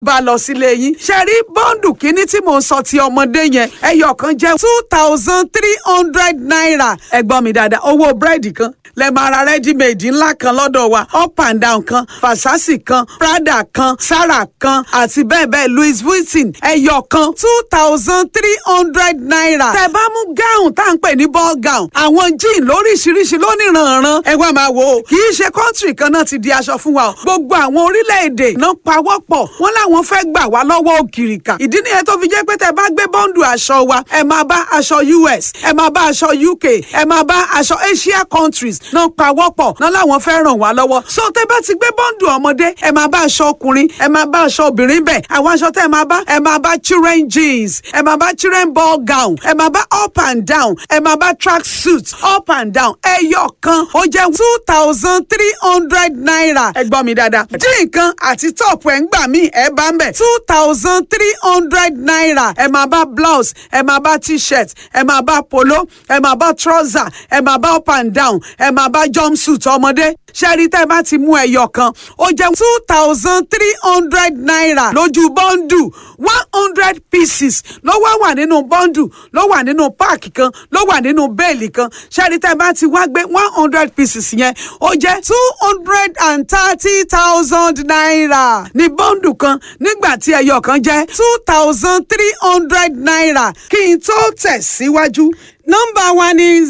Bá lọ sílé yín. Ṣe rí bundle kínní tí mò ń sọ ti ọmọdé yẹn, ẹyọ kan jẹ́ ₦2,300. Ẹ gbọ́ mi dáadáa, owó búrẹ́dì kan lẹ máa ra ready made ńlá kan lọ́dọ̀ wa: up and down kan, Versace kan, Prada kan, Zara kan àti bẹ́ẹ̀ bẹ́ẹ̀, Louis Vuitton, ẹyọ kan ₦2,300. Tẹ́ bá mú gown tá à ń pè ní ball gown, àwọn jean lóríṣiríṣi lóníranran, ẹ wá máa wò ó. Kì í ṣe country kan náà ti di aṣọ fún wa o. Gbogbo àwọn orílẹ̀-èdè náà pawọ́pọ̀, wọ́n láwọn fẹ́ gbà wá lọ́wọ́ òkìrìkà. Ìdí nìyẹn tó fi jẹ́ pé tẹ́ bá gbé bundle aṣọ wa, ẹ máa bá aṣọ US, ẹ máa bá aṣọ UK, ẹ máa bá aṣọ Asia countries náà pawọ́pọ̀ náà láwọn fẹ́ ràn wá lọ́wọ́. So tẹ́ bá ti gbé bundle ọmọdé, ẹ máa bá aṣọ ọkùnrin, ẹ máa bá aṣọ obìnrin bẹ̀. Àwọn aṣọ tẹ́ ẹ máa bá, ẹ máa bá children jeans, ẹ máa bá children ball gown, ẹ máa bá up and down, ẹ máa bá track suit up and down. Ẹyọ kan ó jẹ́ ₦2,300. Ẹ gbọ́ mi dáadáa, jean kan àti top ẹ̀ ń gbà mí, ẹ bá ń bẹ̀ ₦2,300. Ẹ máa bá blouse, ẹ máa bá T-shirt, ẹ máa bá polo, ẹ máa bá trouser, ẹ máa bá up and down, ẹ máa bá jumpsuit ọmọdé. Ṣẹ́rí tẹ́ bá ti mú ẹyọ kan, ó jẹ́ ₦2,300 lójú bundle. 100 pieces ló wá wà nínú bundle, ló wà nínú pack kan, ló wà nínú bale kan. Ṣẹ́rí tẹ́ bá ti wá gbé 100 pieces yẹn, ó jẹ́ ₦230,000 ní bundle kan, nígbà tí ẹyọ kan jẹ́ ₦2,300. Kí n tó tẹ̀ síwájú, nọ́mbà wa ni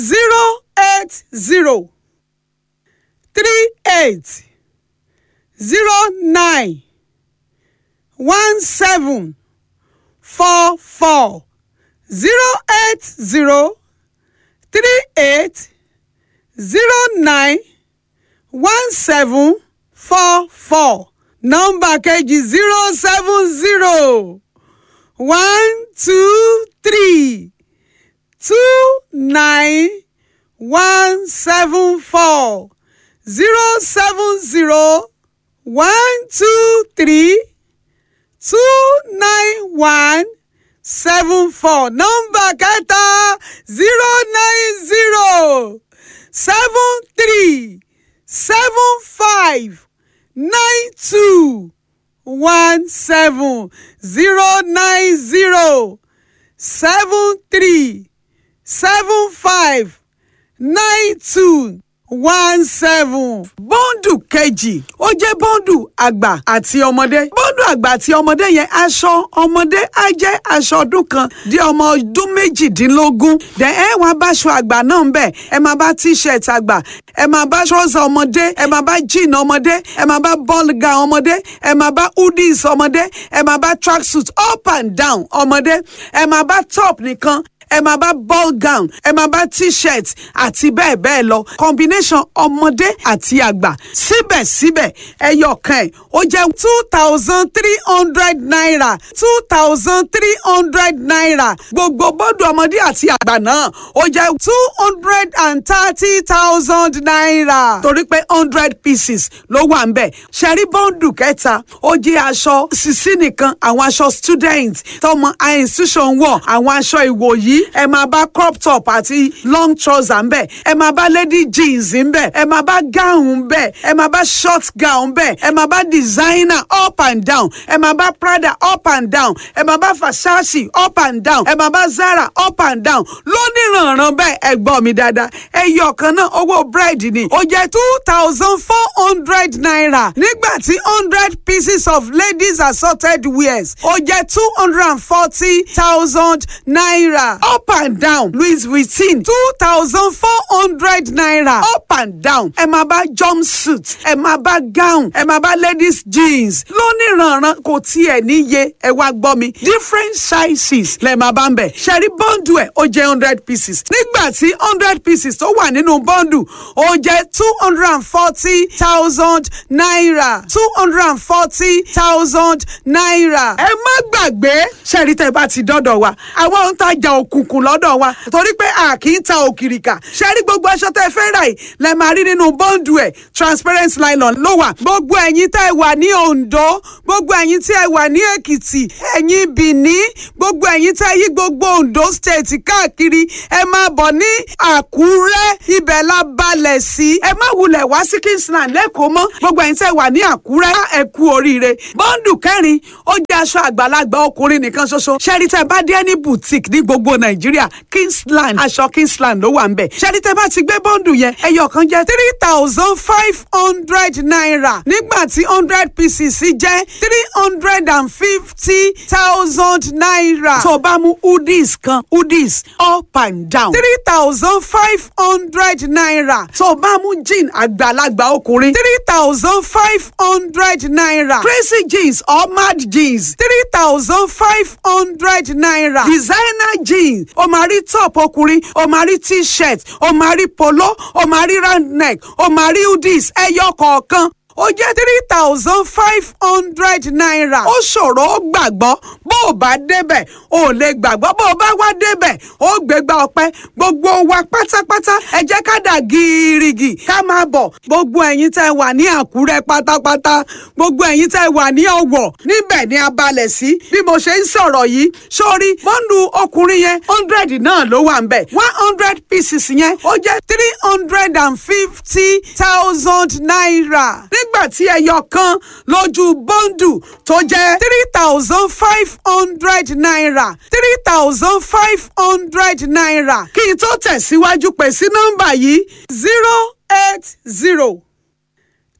08038091744. 08038091744. Nọ́mbà kejì, 07012329174. 07012329174. Nọ́mbà kẹta, 09073759217. 09073759217. Bundle kejì, ó jẹ́ bundle àgbà àti ọmọdé. Bundle àgbà àti ọmọdé yẹn, aṣọ ọmọdé á jẹ́ aṣọ ọdún 1 di ọmọ ọdún 18. Dẹ̀ ẹ wá bá aṣọ àgbà náà ń bẹ̀, ẹ máa bá T-shirt àgbà, ẹ máa bá trouser ọmọdé, ẹ máa bá jean ọmọdé, ẹ máa bá ball gown ọmọdé, ẹ máa bá hoodies ọmọdé, ẹ máa bá track suit up and down ọmọdé, ẹ máa bá top nìkan, ẹ máa bá ball gown, ẹ máa bá T-shirt àti bẹ́ẹ̀ bẹ́ẹ̀ lọ. Combination ọmọdé àti àgbà, síbẹ̀síbẹ̀ ẹyọ kan ẹ̀ ó jẹ́ ₦2,300, ₦2,300. Gbogbo bundle ọmọdé àti àgbà náà, ó jẹ́ ₦230,000, torí pé 100 pieces ló wà ń bẹ̀. Ṣẹ̀rí bundle kẹta, ó jẹ́ aṣọ sisi nìkan, àwọn aṣọ student tọmọ institution wọ̀, àwọn aṣọ ìwòyí. Ẹ máa bá crop top àti long trouser ńbẹ̀, ẹ máa bá lady jeans ńbẹ̀, ẹ máa bá gown ńbẹ̀, ẹ máa bá short gown ńbẹ̀, ẹ máa bá designer up and down, ẹ máa bá Prada up and down, ẹ máa bá Versace up and down, ẹ máa bá Zara up and down lóníranran bẹ́ẹ̀. Ẹ gbọ́ mi dáadáa, ẹyọ kan náà, owó búrẹ́dì ni, ó jẹ́ ₦2,400, nígbà tí 100 pieces of ladies assorted wears, ó jẹ́ ₦240,000. Up and down Louis Vuitton, ₦2,400 up and down. Ẹ máa bá jumpsuit, ẹ máa bá gown, ẹ máa bá ladies jeans lóníranran, kò tiẹ̀ níye. Ẹ wá gbọ́ mi, different sizes lẹ máa bá ń bẹ̀. Ṣẹ̀rí bundle ẹ̀, ó jẹ́ 100 pieces, nígbà tí 100 pieces tó wà nínú bundle, ó jẹ́ ₦240,000, ₦240,000. Ẹ má gbàgbé, ṣẹ̀rí tẹ́ bá ti dọ́dọ̀ wa, àwọn ń tajà òkú. òkùnkùn lọ́dọ̀ wa, torí pé a kì í ta òkìrìkà. Ṣe rí gbogbo aṣọ tẹ́ fẹ́ rà yìí lẹ máa rí nínú bọ́ǹdù ẹ̀, transparent nylon ló wà. Gbogbo ẹ̀yin tẹ́ wà ní Oǹdó, gbogbo ẹ̀yin tí ẹ wà ní Èkìtì, ẹ̀yin Bìní, gbogbo ẹ̀yin tẹ́ yí gbogbo Oǹdó State káàkiri, ẹ máa bọ̀ ní Àkúrẹ́, ibẹ̀ la balẹ̀ sí. Ẹ má wulẹ̀ wá sí Kingsland lẹ́kọ̀ọ́ mọ́. Gbogbo ẹ̀yin tẹ́ wà ní Àkúrẹ́, ẹ kú oríire. Bọ́ǹdù kẹrin, ó jẹ́ aṣọ àgbàlagbà ọkùnrin nìkan ṣoṣo. Ṣẹ́rí tẹ́ bá dé ní boutique ní gbogbo Nàìjíríà, Kingsland, aṣọ Kingsland ló wà ń bẹ̀. Ṣẹ́rí tẹ́ bá ti gbé bọ́ǹdù yẹn, ẹyọ kan jẹ́ ₦3,500, nígbà tí 100 pieces jẹ́ ₦350,000. Tó o bá mú hoodies kan, hoodies up and down, ₦3,500. Tó o bá mú jean àgbàlagbà ọkùnrin, ₦3,500. Crazy jeans or mad jeans, ₦3,500. Designer jeans, o máa rí top ọkùnrin, o máa rí t-shirt, o máa rí polo, o máa rí round neck, o máa rí hoodies, ẹyọ kọ̀ọ̀kan ó jẹ́ ₦3,500. Ó ṣòro ó gbàgbọ́, bó o bá débẹ̀ o lè gbàgbọ́, bó o bá wá débẹ̀ ó gbégbá ọpẹ́. Gbogbo wa pátápátá, ẹ jẹ́ ká dà gírígì ká máa bọ̀. Gbogbo ẹ̀yin tẹ́ wà ní Àkúrẹ́ pátápátá, gbogbo ẹ̀yin tẹ́ wà ní Ọ̀wọ̀, níbẹ̀ ni a balẹ̀ sí bí mo ṣe ń sọ̀rọ̀ yìí. Sórí bọ́ńdù ọkùnrin yẹn, 100 náà ló wà ń bẹ̀. 100 pieces yẹn ó jẹ́ ₦350,000, nígbà tí ẹyọ kan lójú bọ́ńdù tó jẹ́ ₦3,500, ₦3,500. Kí n tó tẹ̀síwájú, pè sí nọ́mbà yìí: 080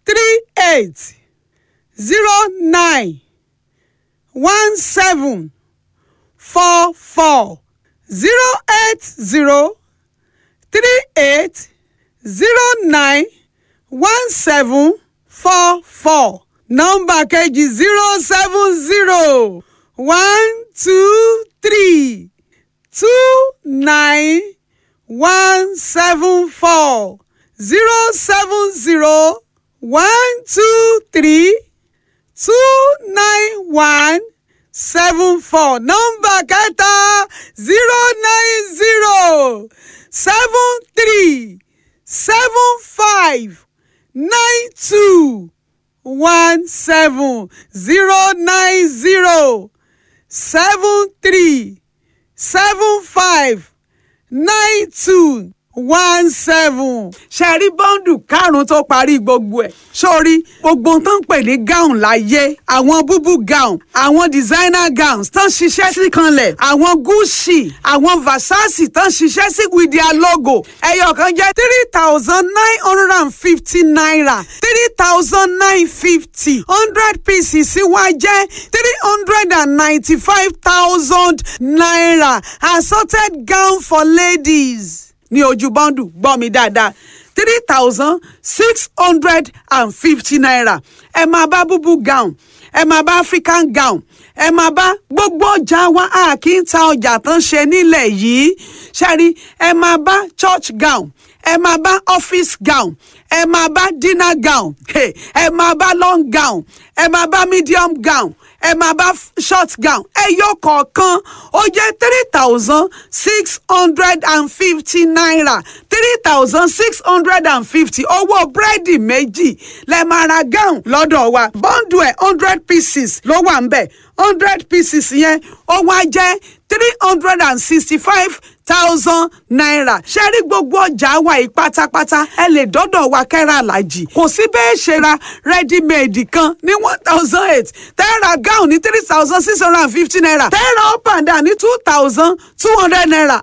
38 09 17 44, 080 38 09 17 44. Nọ́mbà kejì: 070 1 2 3 2 9 1 7 4, 070 1 2 3 2 9 1 7 4. Nọ́mbà kẹta: 090 7 3 7 5 9 2 1 7, 090 7 3 7 5 9 2 1 7. Ṣe rí bọ́ńdù karùn-ún tó parí gbogbo ẹ̀? Sórí gbogbo tó ń pè ní gown láyé, àwọn búbú gown, àwọn designer gowns tó ń ṣiṣẹ́ sí kanlẹ̀, àwọn Gucci, àwọn Versace tó ń ṣiṣẹ́ sí with their logo, ẹyọ kan jẹ́ ₦3,950, 3,950. 100 pieces wá jẹ́ ₦395,000. Assorted gown for ladies ní ojú bọ́ńdù, gbọ́ mi dáadáa, ₦3,650. Ẹ máa bá búbú gown, ẹ máa bá African gown, ẹ máa bá gbogbo ọjà wa. A kì í ta ọjà tán ṣe nílẹ̀ yìí. Ṣẹ́rí, ẹ máa bá church gown, ẹ máa bá office gown, ẹ máa bá dinner gown, ẹ máa bá long gown, ẹ máa bá medium gown, ẹ máa bá short gown. Ẹyọ kọ̀ọ̀kan ó jẹ́ ₦3,650, 3,650. Owó búrẹ́dì méjì lẹ máa ra gown lọ́dọ̀ wa. Bọ́ńdù ẹ̀, 100 pieces ló wà ń bẹ̀. 100 pieces yẹn ó wá jẹ́ ₦365,000. Ṣe rí gbogbo ọjà wa yìí pátápátá, ẹ lè dọ́dọ̀ wa kẹ́ra àlàjì. Kò sí bẹ́ẹ̀ ṣe ra ready made kan ní 1,800, tẹ́ra gown ní ₦3,650, tẹ́ra up and down ní ₦2,200.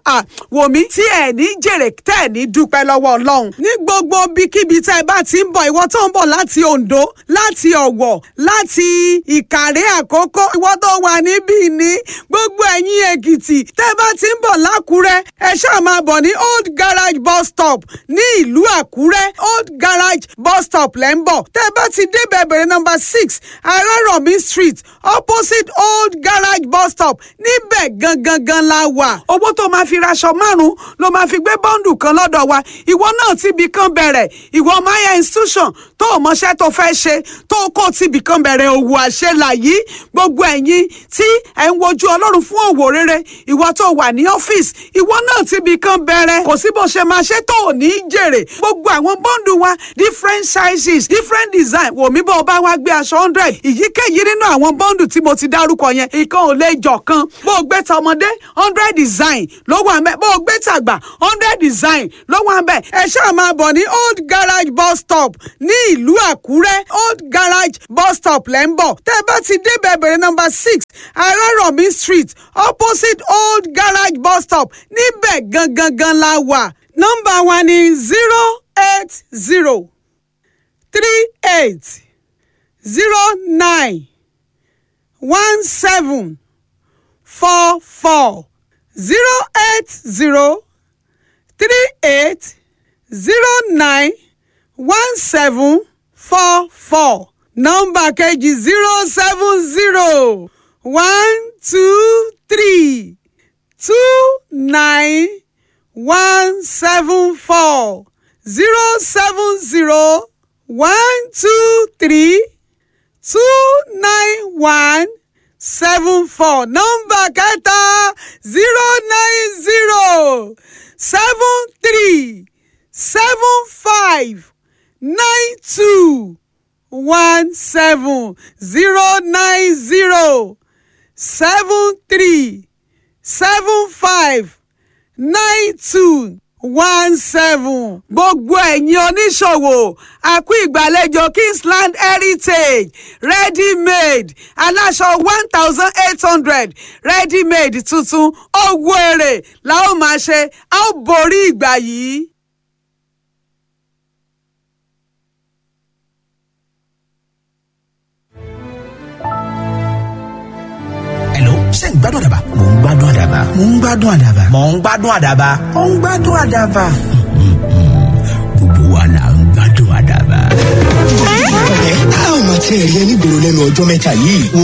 Wò mí, tí ẹ̀ ní jèrè, tẹ́ ẹ̀ ní dúpẹ́ lọ́wọ́ Ọlọ́run. Ní gbogbo ibikíbi tẹ́ ẹ bá ti ń bọ̀, ìwọ tó ń bọ̀ láti Oǹdó, láti Ọ̀wọ̀, láti Ìkàrẹ́ Àkókó, ìwọ tó wà níbí ní gbogbo ẹ̀yin Èkìtì, tẹ́ ẹ bá ti ń bọ̀ lákùrẹ́. Àkúrẹ́, ẹ ṣáà máa bọ̀ ní Old Garage bus stop ní ìlú Àkúrẹ́. Old Garage bus stop lẹ́ ń bọ̀. Tẹ́ ẹ bá ti débẹ̀, bẹ̀rẹ̀ nọ́mbà 6 Arárọ̀mí Street, opposite Old Garage bus stop, níbẹ̀ gangan gan la wà. Owó tó máa fi raṣọ márùn-ún ló máa fi gbé bọ́ǹdù kan lọ́dọ̀ wa. Ìwọ náà ti ibì kan bẹ̀rẹ̀. Ìwọ maya institution tó o mọṣẹ́ tó fẹ́ ṣe, tó o kó ti ibì kan bẹ̀rẹ̀ òwò àṣelà yìí. Gbogbo ẹ̀yin tí ẹ̀ ń wojú Ọlọ́run fún òwò rere, ìwọ tó wà ní ọ́fíìsì, ìwọ náà ti ibì kan bẹ̀rẹ̀. Kò sí bó ṣe máa ṣe tó ò ní í jèrè. Gbogbo àwọn bọ́ǹdù wa, different sizes, different design. Wò mí, bó o bá wá gbé aṣọ 100, ìyíkéyìí nínú àwọn bọ́ǹdù tí mo ti dárúkọ yẹn, ìkan ò lè jọ kan. Bó o gbé tọmọdé, 100 design ló wà ńbẹ̀. Bó o gbé tàgbà, 100 design ló wà ńbẹ̀. Ẹ ṣáà máa bọ̀ ní Old Garage bus stop ní ìlú Àkúrẹ́. Old Garage bus stop lẹ́ ń bọ̀. Tẹ́ ẹ bá ti débẹ̀, bẹ̀rẹ̀ nọ́mbà 6 Arárọ̀mí Street, opposite Old Garage bus stop, níbẹ̀ gangan gan la wà. Nọ́mbà wa ni 080 38 09 17 44. 080 38 09 17 44. Nọ́mbà kejì, 070 1 2 3 2 9 1 7 4. 070 1 2 3 2 9 1 7 4. Nọ́mbà kẹta, 090 7 3 7 5 9 2 1 7. 090 7 3 7 5 9 2 1 7. Gbogbo ẹ̀yin oníṣòwò, àkú ìgbàlejò Kingsland Heritage ready made aláṣọ 1,800, ready made tuntun. Owó èrè la ó máa ṣe, a ó borí ìgbà yìí. Hello, ṣé ń gbádùn àdàbà? Mò ń gbádùn àdàbà. Mò ń gbádùn àdàbà. Mò ń gbádùn àdàbà. Mò ń gbádùn àdàbà. Gbogbo wa là ń gbádùn àdàbà. Ọ̀rẹ́, a ò mọ̀ tí ẹ̀ rí ẹ nígboro lẹ́nu ọjọ́ mẹ́ta yìí. Wo,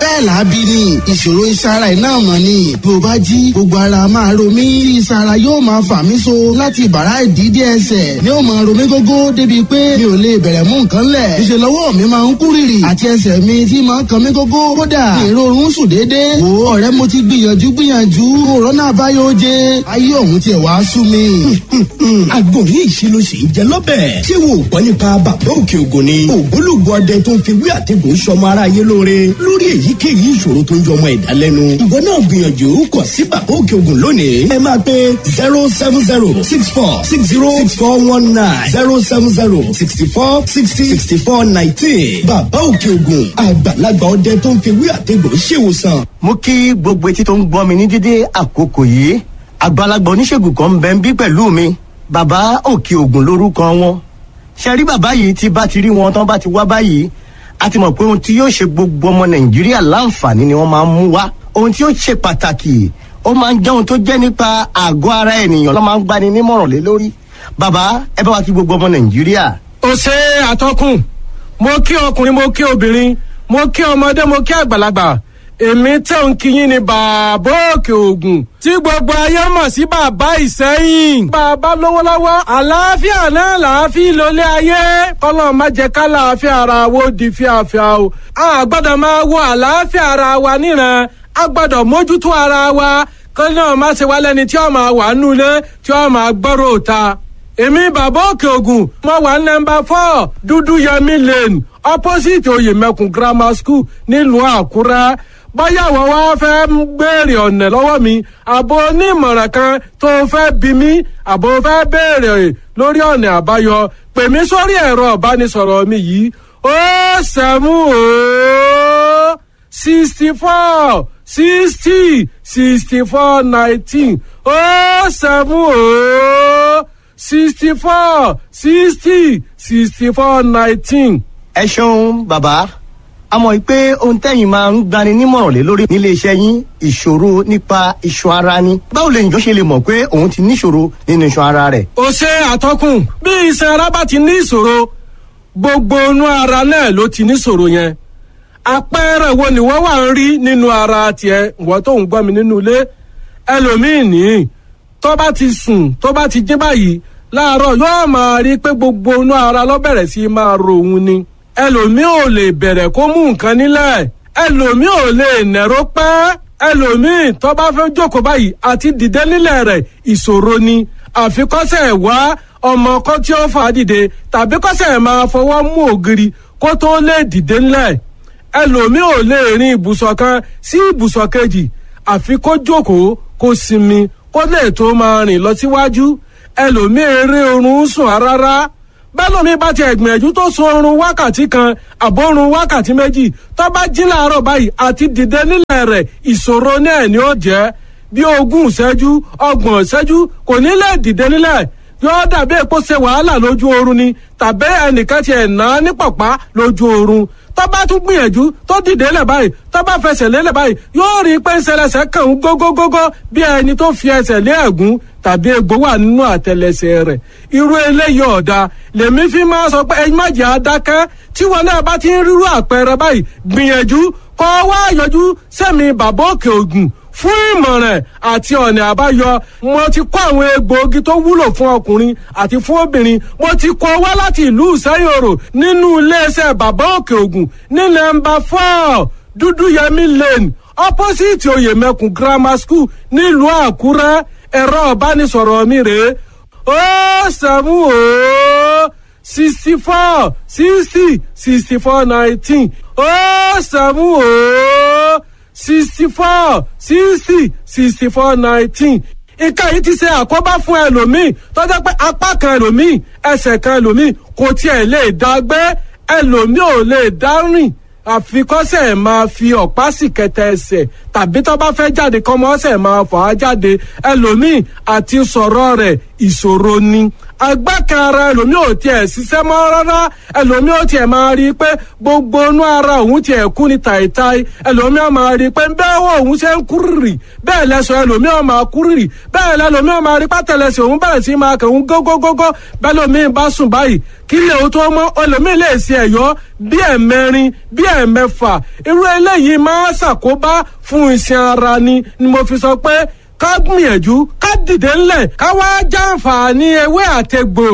bẹ́ẹ̀ là á bí ni ìṣòro iṣan iná mọ̀ ni. Bí o bá jí, gbogbo ara máa ro mí tí iṣan ara yóò máa fà mí so láti ìbàrá ìdí dé ẹsẹ̀ ni ó máa ro mí gógó, débi pé mi ò lè bẹ̀rẹ̀ mú nǹkan lẹ̀. Ìṣe lọ́wọ́ mi máa ń kú rìrì àti ẹsẹ̀ mi tí máa ń kan mí gógó. Kódà ìrorun sùn déédéé. Wo ọ̀rẹ́, mo ti gbìyànjú gbìyànjú, òrọ́nà àbáyọ oje, ayé òun tiẹ̀ wá sú mi. Àgbo yìí ṣe ló ṣe ń jẹ lọ́bẹ̀. Ṣé wo ò gbọ́ nípa Bàbá Òkè Ògùn ni? Ògbólógbò ọdẹ tó ń fi wí àtẹ̀gùn sọmọ aráyé lóore lórí èyíkéyìí ìṣòro tó ń jọmọ ẹ̀dá lẹ́nu. Ìwọ náà gbìyànjú kọ̀ sí Bàbá Òkè Ògùn lónìí. Ẹ máa pe 07064606419, 07064606419. Bàbá Òkè Ògùn, àgbàlagbà ọdẹ tó ń fi wí àtẹ̀gùn ṣèwòsàn. Mo kí gbogbo etí tó ń gbọ́ mi ní dédé àkókò yìí. Àgbàlagbà oníṣègùn kan ń bẹ ń bí pẹ̀lú mi, Bàbá Òkè Ògùn lórúkọ wọn. Ṣe rí bàbá yìí, tí bá ti rí wọn tán bá ti wá báyìí, a ti mọ̀ pé ohun tí yóò ṣe gbogbo ọmọ Nàìjíríà láǹfààní ni wọ́n máa ń mú wá. Ohun tí yóò ṣe pàtàkì, ó máa ń jẹ́ ohun tó jẹ́ nípa àgọ́ ara ènìyàn ló máa ń gbani nímọ̀ràn lé lórí. Bàbá, ẹ bá wa kí gbogbo ọmọ Nàìjíríà. Ó ṣe àtọkùn. Mo kí ọkùnrin, mo kí obìnrin, mo kí ọmọdé, mo kí àgbàlagbà. Èmi tẹ̀ ń kíyìn ní Bàbá Òkè Ògùn tí gbogbo ayé mọ̀ sí Bàbá Ìsẹ́yìn. Bàbá lówó lọ́wọ́, àlàáfíà náà làáfíà lólé ayé. Kọ́lọ́ má jẹ́ ká làáfíà ara wo di fíafíà o. A gbọ́dọ̀ máa wo àlàáfíà ara wa níran, a gbọ́dọ̀ mójútó ara wa, kọ́ náà má ṣe wá lẹ́ni tí ó máa wà nulẹ̀, tí ó máa gbọ́rọ̀ òta. Èmi Bàbá Òkè Ògùn, mo wà nọ́mbà 4 Dúdú Yẹmí Lane, opposite Oyèmẹkùn Grammar School, nílùú Àkúrẹ́. Bóyá àwọn wá fẹ́ ń béèrè ọ̀nà lọ́wọ́ mi, àbò onímọ̀ràn kan tó fẹ́ bí mi, àbò fẹ́ béèrè lórí ọ̀nà àbáyọ, pè mí sórí ẹ̀rọ ìbánisọ̀rọ̀ mi yìí: 070 64 60 64 19, 070 64 60 64 19. Ẹ ṣeun bàbá. A mọ̀ pé ohun tẹ́yìn máa ń gbani nímọ̀ràn lé lórí nílé iṣẹ́ yín, ìṣòro nípa iṣan ara ni. Báwo lè yàn ṣe lè mọ̀ pé òun ti níṣòro nínú iṣan ara rẹ̀? Ó ṣe, àtọkùn. Bí iṣan ara bá ti ní ìṣòro, gbogbo inú ara náà ló ti níṣòro yẹn. Àpẹẹrẹ wo ni wọ́n wà ń rí nínú ara tiẹ̀, wọ́n tó ń gbọ́ mi nínú ilé? Ẹlòmíì ní tó bá ti sùn, tó bá ti jí báyìí láàárọ̀, yóò máa rí pé gbogbo inú ara ló bẹ̀rẹ̀ sí máa ro òun ni. Ẹlòmíì ò lè bẹ̀rẹ̀ kó mú nǹkan nílẹ̀, ẹlòmíì ò lè nẹ̀rọ pẹ́, ẹlòmíì tó bá fẹ́ jókòó báyìí, àti dìde nílẹ̀ rẹ̀ ìṣòro ni, àfikọ́sẹ̀ wá ọmọ kọ́ tí ó fà á dìde, tàbí kọ́sẹ̀ máa fọwọ́ mú ògiri kó tó lè dìde nílẹ̀. Ẹlòmíì ò lè rin ibùsọ̀ kan sí ibùsọ̀ kejì, àfi kó jókòó, kó sinmi, kó lè tó máa rìn lọ síwájú. Ẹlòmíì eré oorun sùn rárá. Bẹ́lòmíì bá ti ẹ̀gbìyànjú tó sun oorun wákàtí 1 àbórun wákàtí 2, tó bá jí láàárọ̀ báyìí, àti dìde nílẹ̀ rẹ̀ ìṣòro náà ni ó jẹ́. Bí 20 ìṣẹ́jú, 30 ìṣẹ́jú, kò ní lè dìde nílẹ̀. Yóò dàbí èpo ṣe wàhálà lójú oorun ni, tàbí ẹnìkan ti ẹ̀ ná ní pọ̀pá lójú oorun. Tó bá tún gbìyànjú tó dìde lẹ̀ báyìí, tó bá fẹsẹ̀ lélẹ̀ báyìí, yóò rí i pé ń ṣẹlẹ̀ṣẹ̀ kàn ń gógógógó, bí ẹni tó fi ẹsẹ̀ lé ẹ̀gún tàbí egbò wà nínú àtẹlẹsẹ̀ rẹ̀. Irú eléyìí ọ̀dà lèmi fi máa sọ pé ẹyin má jẹ́ adákẹ́. Tí wọn náà bá ti ń rírú àpẹẹrẹ báyìí, gbìyànjú kọ́ wá yọjú sẹ́mi Bàbá Òkè Ògùn fún ìmọ̀ràn àti ọ̀nà àbáyọ. Mo ti kó àwọn egbòogi tó wúlò fún ọkùnrin àti fún obìnrin, mo ti kó wá láti ìlú Ìsẹ́yòrò nínú iléeṣẹ́ Bàbá Òkè Ògùn ní nọ́mbà 4 Dúdúyẹmí Lane, opposite Oyèmẹkùn Grammar School, nílùú Àkúrẹ́. Ẹ̀rọ ìbánisọ̀rọ̀ mi rèé: 070 64 60 64 19, 070 64 60 64 19. Nǹkan yìí ti ṣe àkóbá fún ẹlòmíì tó jẹ́ pé apá kan ẹlòmíì, ẹsẹ̀ kan ẹlòmíì kò tiẹ̀ lè dá gbé, ẹlòmíì ò lè dá rìn, àfikọ́sẹ̀ máa fi ọ̀pá sì kẹtẹ ẹsẹ̀, tàbí tó bá fẹ́ jáde kọ́mọ́sẹ̀ máa fà á jáde. Ẹlòmíì àti sọ̀rọ̀ rẹ̀ ìṣòro ni. Agbákan ara ẹlòmíì ò tiẹ̀ ṣiṣẹ́ mọ́ rárá. Ẹlòmíì ò tiẹ̀ máa rí i pé gbogbo inú ara òun tiẹ̀ kú ni tàìtàì. Ẹlòmíì ò máa rí i pé bẹ́ẹ̀ wọ òun ṣe ń kúrìrì, bẹ́ẹ̀ lẹ́sọ̀ ẹlòmíì ò máa kúrìrì, bẹ́ẹ̀ lẹ́lòmíì ò máa rí pátẹ́lẹsẹ̀ òun bẹ̀rẹ̀ sí máa kàn ń gógógógó. Bẹ́ẹ̀ lòmíì bá sùn báyìí, kí lè o tó mọ́, ẹlòmíì lè ṣe ẹ̀yọ́ bí ẹ̀mẹrin, bí ẹ̀mẹfà. Irú eléyìí máa ṣàkóbá fún iṣan ara ni. Ni mo fi sọ pé ká gbìyànjú ká dìde ńlẹ̀, ká wá jàǹfààní ewé àtegbò,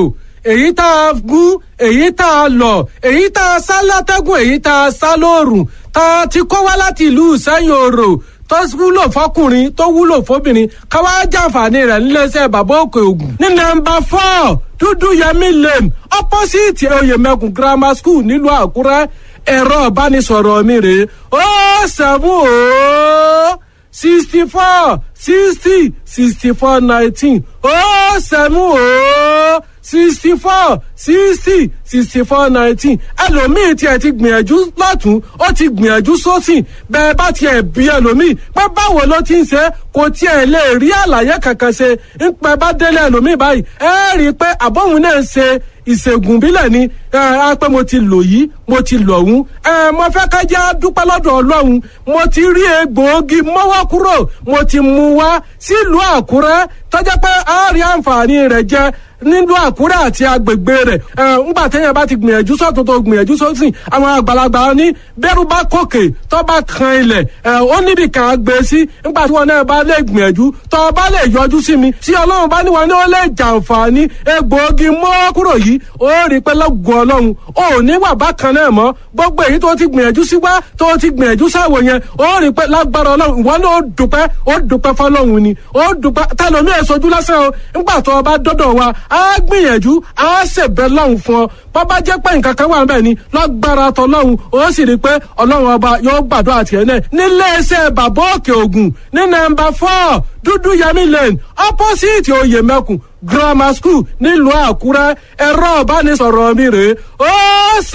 èyí tá a gún, èyí tá a lọ̀, èyí tá a sá látẹ́gùn, èyí tá a sá lóòrùn, tá a ti kó wá láti ìlú Ìsẹ́yìn Òrò, tó wúlò fọkùnrin, tó wúlò fóbìnrin, ká wá jàǹfààní rẹ̀ níléeṣẹ́ Bàbá Òkè Ògùn ní nọ́mbà 4 Dúdú Yẹmí Lane, opposite Oyèmẹkùn Grammar School, nílùú Àkúrẹ́. Ẹ̀rọ ìbánisọ̀rọ̀ mi rèé: 070 64 60 64 19, 070 64 60 64 19. Ẹlòmíì tiẹ̀ ti gbìyànjú lọ́tún, ó ti gbìyànjú sósì. Bẹ́ẹ̀ bá tiẹ̀ bí ẹlòmíì pé báwo ló ti ń ṣe, kò tiẹ̀ lè rí àlàyé kankan ṣe. Ń pẹ́ bá délé ẹlòmíì báyìí, ẹ rí i pé àbọ̀hún náà ń ṣe ìṣègùn bílẹ̀ ni. Ẹ á pé mo ti lò yìí, mo ti lò ọ̀hún. Ẹ mo fẹ́ ká jẹ́ dúpẹ́ lọ́dọ̀ Ọlọ́run. Mo ti rí egbòogi mọ́wọ́ kúrò, mo ti mú wá sílùú Àkúrẹ́, tọ́jà pé a rí àǹfààní rẹ̀ jẹ nílùú Àkúrẹ́ àti agbègbè rẹ̀. Ẹ ńgbà téèyàn bá ti gbìyànjú sọ́tún, tó gbìyànjú sósì, àwọn àgbàlagbà ní bẹ́rù bá kòkè, tó bá kan ilẹ̀, ẹ ó níbi kan á gbé sí. Ńgbà tí wọn náà bá lè gbìyànjú, tó bá lè yọjú sí mi, tí Ọlọ́run bá ní wọn ní ó lè jàǹfààní egbòogi mọ́ kúrò yìí, ó rí pé lọ́gùn Ọlọ́run ò ní wà bákan náà mọ́. Gbogbo èyí tó ti gbìyànjú sí wá, tó ti gbìyànjú sáwò yẹn, ó rí pé lágbára Ọlọ́run, ìwọ náà ó dúpẹ́, ó dúpẹ́ fọlọ́run ni, ó dúpẹ́. Tẹlomi ẹ̀ sojú lásán o. Ńgbà tó o bá dọ́dọ̀ wa, á gbìyànjú, á ṣèbẹ̀ lọ́hùn fún ọ. Bọ́bá jẹ́ pé nǹkan kan wà ń bẹ̀ ni, lágbára tọlọ́hun, ó sì rí i pé Ọlọ́run ọba yóò gbàdúrà tiẹ̀ náà. Nílé iṣẹ́ Bàbá Òkè Ògùn ní nọ́mbà 4 Dúdú Yẹmí Lane, opposite Oyèmẹkùn Grammar School, nílùú Àkúrẹ́. Ẹ̀rọ ìbánisọ̀rọ̀ mi rèé: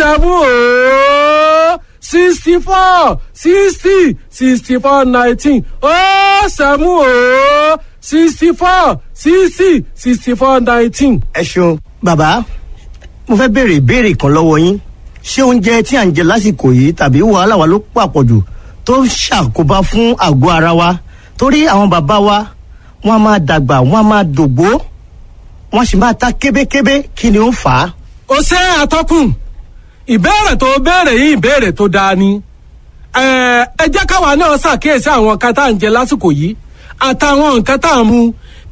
070 64 60 64 19, 070 64 60 64 19. Ẹ ṣeun bàbá. Mo fẹ́ béèrè ìbéèrè kan lọ́wọ́ yín. Ṣé oúnjẹ tí à ń jẹ lásìkò yìí tàbí wàhálà wa ló pàpọ̀jù tó ń ṣàkóbá fún àgọ́ ara wa? Torí àwọn bàbá wa, wọ́n á máa dàgbà, wọ́n á máa dògbó, wọ́n sì máa ta kébékébé. Kí ni ó fà á? Ó ṣe, àtọkùn. Ìbéèrè tó béèrè yìí, ìbéèrè tó dáa ni. Ẹ jẹ́ káwa náà ṣàkíyèsí àwọn nǹkan tá à ń jẹ lásìkò yìí àtàwọn nǹkan tá à ń mu.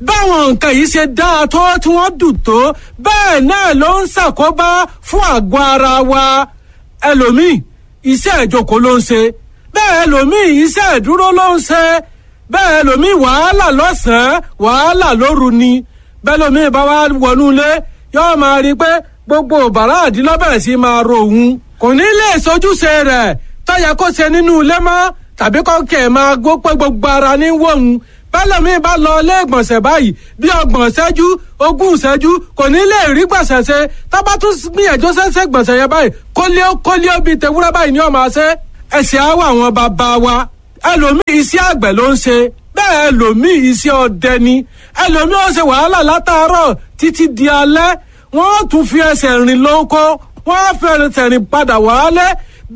Báwọn nǹkan yìí ṣe dáa tó, tí wọ́n dùn tó, bẹ́ẹ̀ náà ló ń ṣàkóbá fún àgọ́ ara wa. Ẹlòmíì, iṣẹ́ ìjókòó ló ń ṣe. Bẹ́ẹ̀ ẹlòmíì, iṣẹ́ ìdúró ló ń ṣe. Bẹ́ẹ̀ ẹlòmíì, wàhálà lọ́sàn-án, wàhálà lóru ni. Bẹ́ẹ̀ lòmíì bá wá wọnú ilé, yóò máa rí i pé gbogbo bàrá àdínlọ́bẹ̀rẹ̀ sí máa ro òun, kò ní lè sojúṣe rẹ̀ tọ́yẹ kó ṣe nínú ilé mọ́, tàbí kọ́kẹ́ máa gbó pé gbogbo ara ní wọ̀hún. Bẹ́lẹ̀mí bá lọ ilé ìgbọ̀nsẹ̀ báyìí, bí 30 ìṣẹ́jú, 20 ìṣẹ́jú, kò ní lè rí gbọ̀nsẹ̀ ṣe. Tọ́ba tún gbìyànjú ṣẹ́ṣẹ́ gbọ̀nsẹ̀ yẹn báyìí, kólíó kólíó bíi tewúrẹ́ báyìí ni ó máa ṣe. Ẹ̀sìn àwọ̀ àwọn bàbá wa, ẹlòmíì iṣẹ́ àgbẹ̀ ló ń ṣe. Bẹ́ẹ̀ ẹlòmíì, iṣẹ́ ọdẹ ni. Ẹlòmíì ó ṣe wàhálà látàárọ̀ títí di alẹ́, wọ́n tún fi ẹsẹ̀ rìn lóko, wọ́n fi ẹsẹ̀ rìn padà wálé.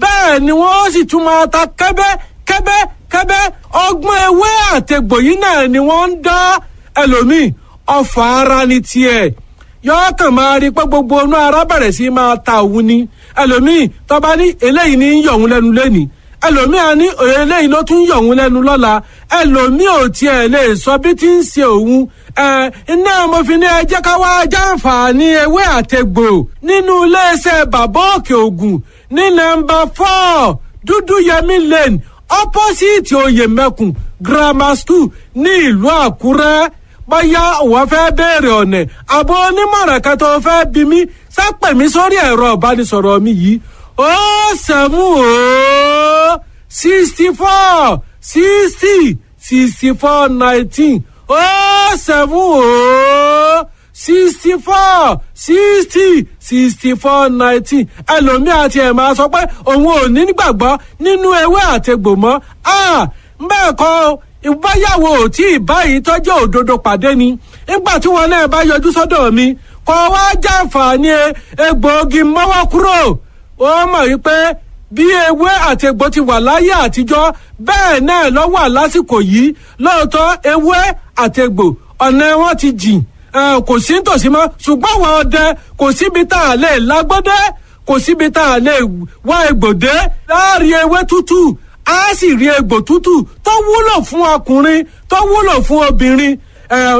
Bẹ́ẹ̀ ni wọ́n sì tún máa ta kẹ́bẹ́ kẹ́bẹ́ kẹ́bẹ́. Ọgbọ́n ewé àtegbò yìí náà ni wọ́n ń dá. Ẹlòmíì, ọfà ara ni tiẹ̀, yọ̀ọ́ kàn máa rí pé gbogbo inú ara bẹ̀rẹ̀ sí máa ta òun ni. Ẹlòmíì tọ́ba ní eléyìí ní ń yọ̀ òun lẹ́nu lẹ́nìí, ẹlòmíì á ní eléyìí ló tún yọ̀ òun lẹ́nu lọ́la. Ẹlòmíì ò tiẹ̀ lè sọ bí tí ń ṣe òun. Iná mo fi ní ẹ jẹ́ ká wá jàǹfààní ewé àtegbò nínú iléeṣẹ́ Bàbá Òkè Ògùn ní nọ́mbà 4, Dúdú Yẹmí Lane, opposite Oyèmẹkùn Grammar School ní ìlú Àkúrẹ́. Bóyá òun fẹ́ béèrè ọ̀nà àbọ̀ onímọ̀ràn kan tó fẹ́ bí mi, sápẹ̀ mi sórí ẹ̀rọ ìbánisọ̀rọ̀ mi yìí: 070 64 60 64 19, 070 64 60 64 19. Ẹlòmíì àti ẹ̀ máa sọ pé òun ò ní gbàgbọ́ nínú ewé àtegbò mọ́. Bẹ́ẹ̀ kọ́, ìbáyàwó ò tí ì báyìí tọ́jú òdodo pàdé ni. Nígbà tí wọn náà bá yọjú sọ́dọ̀ mi, kọ́ wá jàǹfààní egbòogi mọ́wọ́ kúrò, ó mọ̀ wípé bí ewé àtegbò ti wà láyé àtijọ́, bẹ́ẹ̀ náà ló wà lásìkò yìí. Lóòótọ́, ewé àtegbò, ọ̀nà wọn ti jìn, kò sí nítòsí mọ́, ṣùgbọ́n àwọn ọdẹ, kò síbi tá a lè lágbọ́dẹ́, kò síbi tá a lè wá egbòdé láàrin ewé tútù, á sì rí egbò tútù tó wúlò fún ọkùnrin, tó wúlò fún obìnrin.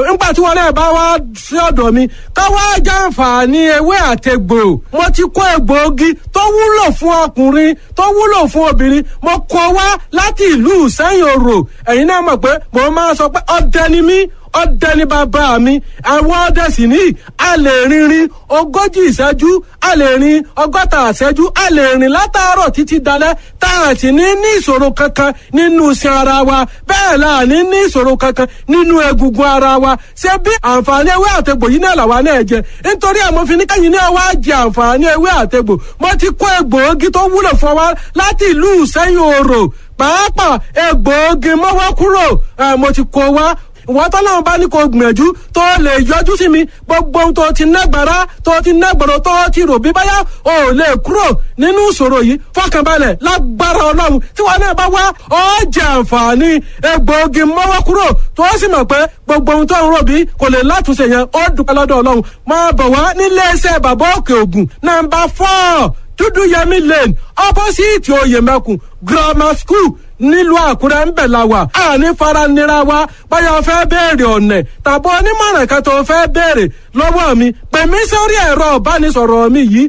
Nígbà tí wọn náà bá wá sí ọ̀dọ̀ mi ká wá jàǹfààní ewé àtegbò, mo ti kó egbòogi tó wúlò fún ọkùnrin, tó wúlò fún obìnrin, mo kó wá láti ìlú Ìsẹ́yìn Òrò. Ẹ̀yin náà mọ̀ pé mo máa sọ pé ọdẹ ni mí, ọdẹ ni bàbá mi. Àwọn ọdẹ sì ní a lè rìnrìn 40 ìṣẹ́jú, a lè rìn 60 ìṣẹ́jú, a lè rìn látàárọ̀ títí dalẹ́, tá a sì ní ní ìṣòro kankan nínú iṣan ara wa. Bẹ́ẹ̀ la ní ní ìṣòro kankan nínú egungun ara wa. Ṣé bí àǹfààní ewé àtegbò yìí náà làwa náà jẹ? Nítorí ẹ̀ mo fi ní kẹ́yìn náà wá jẹ àǹfààní ewé àtegbò. Mo ti kó egbòogi tó wúlò fún wa láti ìlú Ìsẹ́yìn Òrò, pàápàá egbòogi mọ́wọ́ kúrò, mo ti kó wá. Ìwọ́n tọ́lọ́run bá ní kó gbìyànjú tó lè yọjú sí mi, gbogbo ohun tó ti nágbára, tó ti nágbọ̀rọ̀, tó ti rò bí báyà ò lè kúrò nínú ìṣòro yìí, fọkànbalẹ̀, lágbára Ọlọ́run, tí wọn náà bá wá, ó jẹ àǹfààní egbòogi mọ́wọ́ kúrò, tó sì mọ̀ pé gbogbo ohun tó ń rò bí kò lè látúnṣe yẹn, ó dúpẹ́ lọ́dọ̀ Ọlọ́run. Máa bọ̀ wá nílé iṣẹ́ Bàbá Òkè Ògùn, nọ́mbà 4, Dúdú Yẹmí Lane, opposite Oyèmẹkùn Grammar School nílùú Àkúrẹ́ ń bẹ̀ la wà. Àní faranira wa. Báyọ̀ fẹ́ béèrè ọ̀nà tàbí onímọ̀ràn kan tó fẹ́ béèrè lọ́wọ́ mi, pè mí sórí ẹ̀rọ ìbánisọ̀rọ̀ mi yìí: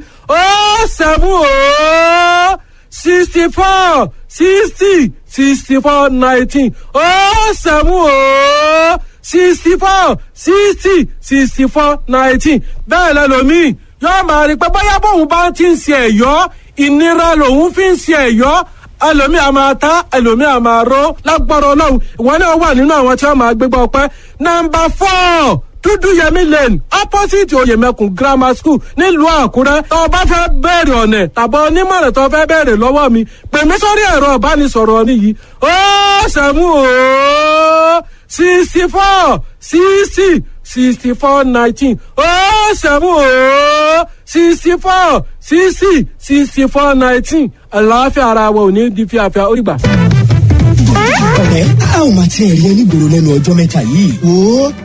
070 64 60 64 19, 070 64 60 64 19. Bẹ́ẹ̀ lẹ́lòmíì yóò máa rí i pé bóyá bóun bá ti ń ṣe ẹ̀yọ́, ìnira lòun fi ń ṣe ẹ̀yọ́. Ẹlòmíì a máa ta, ẹlòmíì a máa ró. Lágbára Ọlọ́run, ìwọ náà wà nínú àwọn tí wọ́n máa gbégbá ọpẹ́. Nọ́mbà 4, Dúdúyẹmí Lane, opposite Oyèmẹkùn Grammar School nílùú Àkúrẹ́. Tó o bá fẹ́ bẹ̀rẹ̀ ọ̀nà tàbí onímọ̀ràn tó fẹ́ bẹ̀rẹ̀ lọ́wọ́ mi, pè mí sórí ẹ̀rọ ìbánisọ̀rọ̀ mi yìí: 070 64 60 64 19, 070 64. 60 64 19. Àlàáfíà ara wa ò ní di fíafíà. Ó rí gbà. Ọ̀rẹ́, a ò máa tiẹ̀ rí ẹni gbòòrò lẹ́nu ọjọ́ mẹ́ta yìí. Wo,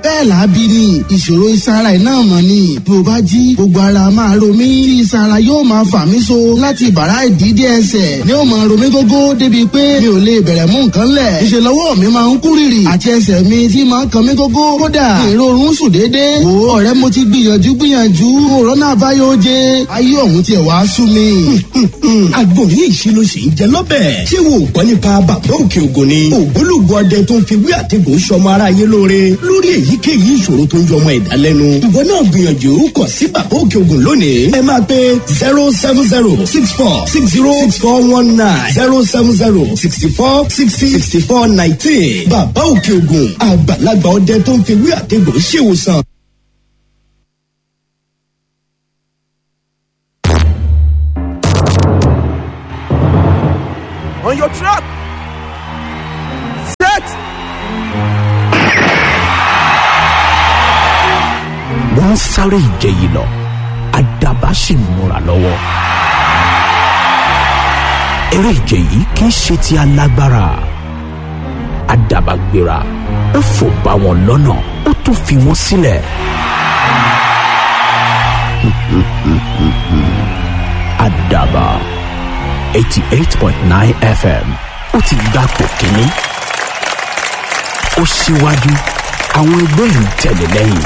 bẹ́ẹ̀ làábí ni ìṣòro iṣan ara ẹ̀ náà mọ̀ ni. Bí o bá jí, gbogbo ara máa ro mí tí iṣan ara yóò máa fà mí so láti bàrá ìdídé ẹsẹ̀ ni ó máa ro mí gógó, débi pé mi ò lè bẹ̀rẹ̀ mú nǹkan lẹ̀. Ìṣe lọ́wọ́ mi máa ń kú rìrì àti ẹsẹ̀ mi tí máa ń kan mí gógó. Kódà ìrorun sùn déédéé. Wo ọ̀rẹ́, mo ti gbìyànjú gbìyànjú, òrọ́nà àbáyọ jẹ, ayé ọ̀hún tiẹ̀ wá sú mi. Àgbọ̀nrín ìṣirò sì ń jẹ lọ́bẹ̀. Ṣé wo ò gbọ́ nípa Bàbá Òkè Ògùn ni? Ògbólógbò ọdẹ tó ń fi wí àtẹ̀gùn sọmọ aráyé lóore lórí èyíkéyìí ìṣòro tó ń yọmọ ẹ̀dá lẹ́nu. Ìwọ náà gbìyànjú kàn sí Bàbá Òkè Ògùn lónìí. Ẹ máa pe 07064606419, 07064606419. Bàbá Òkè Ògùn, àgbàlagbà ọdẹ tó ń fi wí àtẹ̀gùn ṣèwòsàn. On your track. Set. Wọ́n ń sáré ìje yìí lọ, àdàbà sì ń múra lọ́wọ́. Eré ìje yìí kì í ṣe ti alágbára. Àdàbà gbéra, ó fò bá wọn lọ́nà, ó tún fi wọ́n sílẹ̀. Àdàbà 88.9 FM, ó ti gbapò kínní. Ó ṣíwájú, àwọn ẹgbẹ́ ń tẹ̀lé lẹ́yìn.